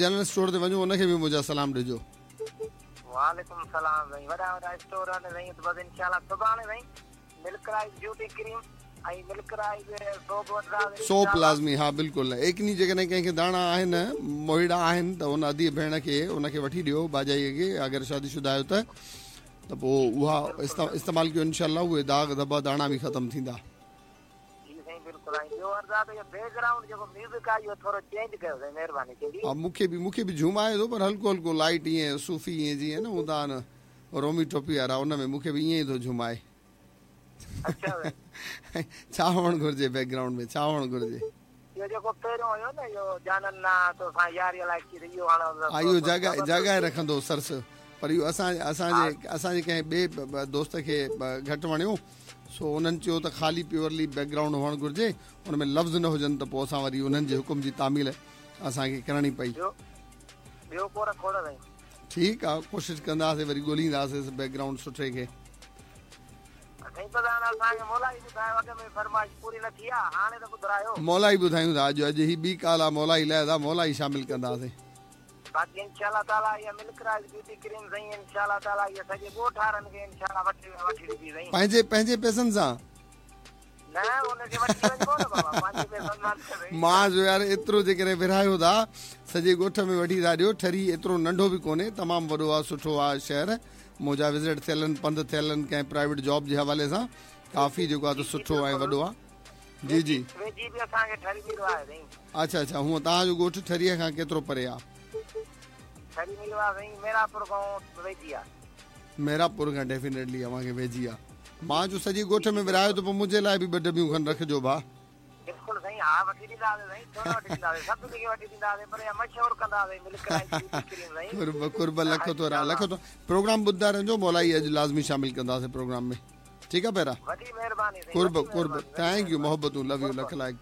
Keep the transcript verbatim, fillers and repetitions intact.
General store تي وڃو ان کي به منهنجا سلام ڏجو. وعليڪم السلام سائين وڏا وڏا اسٽور آهن سائين بس انشاء الله سڀاڻي سائين Milk Rice beauty cream ۽ Milk Rice soap وٺنداسين. سوپ لازمي ها بلڪل ايڪني جيڪڏهن ڪنهن کي داڻا آهن موهيڙا آهن ته ان ادي ڀيڻ کي ان کي وٺي ڏيو ڀاڄائي کي اگر شادي شده آهيو ته ته پوء اها استعمال ڪيو انشاء الله اهي داغ ڌٻا داڻا به ختم ٿيندا. جي سائين بلڪل ۽ ٻيو عرض آ ته اهو بيڪ گرائونڊ جيڪو ميوزڪ آ اهو ٿورو چينج ڪيو سائين مهرباني ٿيندي. ها مونکي به مونکي به جهومائي ٿو پر هلڪو هلڪو لائيٽ ائين صوفي ائين جيئن نه هوندا آهن رومي ٽوپي وارا ان ۾ مونکي به ائين ئي ٿو جهومائي. اڇا سائين. ڇا هئڻ گهرجي بيڪ گرائونڊ ۾ ڇا هئڻ گهرجي. اهو جيڪو پهريون هيو نه اهو جانن نا توسان ياري الائي ڪير اهو هاڻ ها اهو جاڳائي جاڳائي رکندو سرس پر اهو اسان اسان جي اسان جي ڪنهن ٻئي دوست کي گهٽ وڻيو سو انهن چيو ته خالي پيورلي بيڪ گرائونڊ هئڻ گهرجي ان ۾ لفظ نه هجن ته پوء اسان وري انهن جي حڪم جي تعميل اسان کي ڪرڻي پئي. ٻيو ٻيو ڪو رکو نه سائين. ٺيڪ آ ڪوشش ڪنداسين وري ڳولينداسين بيڪ گرائونڊ سٺي کي. سائين پر هاڻ اسان کي مولائي ٻڌايو اڳ ۾ فرمائش پوري نه ٿي آ هاڻي ته ٻڌرايو. مولائي ٻڌايون ٿا اڄ اڄ هي ٻي ڪال آ مولائي لئه ٿا مولائي شامل ڪنداسين. باقي انشاء الله تعالي اها ملڪ رائز بيوٽي ڪريم سائين انشاء الله تعالي اها سڄي ڳوٺ وارن کي انشاء الله وٺي وٺي ڏبي سائين. پنهنجي پنهنجي پئسن سان. نه ان کي وٺي وڃبو نه بابا پنهنجي پئسن سان نه سائين. مان چيو يار ايترو جيڪڏهن ورهايو ٿا سڄي ڳوٺ ۾ وٺي ٿا ڏيو ٺري ايترو ننڍو به ڪونهي تمام وڏو آ سٺو آ شهر منهنجا وزٽ ٿيل آهن پنڌ ٿيل آهن ڪنهن پرائيويٽ جاب جي حوالي سان ڪافي جيڪو آ ته سٺو ۽ وڏو آ جي جي. ويجهي به اسان کي ٺري ميرواهه آهي سائين. اڇا اڇا هونء توهان جو ڳوٺ ٺريء کان ڪيترو پري آ؟ ٺري ميرواهه سائين ميرانپور کان ويجهي آ. ميرانپور کان ڊيفينيٽلي اوهان کي ويجهي آ. مان چيو سڄي ڳوٺ ۾ ورهايو ته پوء منهنجي لاء به ٻه ڊٻيون کن رکجو ڀاء. بلڪل سائين ها وٺي ڏينداسين سائين ڇو نه وٺي ڏينداسين سڀني کي وٺي ڏينداسين پر اها مشهور ڪنداسين ملڪ رائز بيوٽي ڪريم سائين. قرب قرب لک ٿورا لک ٿورا پروگرام ٻڌندا رهجو مولائي اڄ لازمي شامل ڪنداسين پروگرام ۾ ٺيڪ آ پيارا وڏي مهرباني سائين قرب وڏي قرب مهرباني وڏي thank you مهرباني محبتون لو يو قرب لک لائق.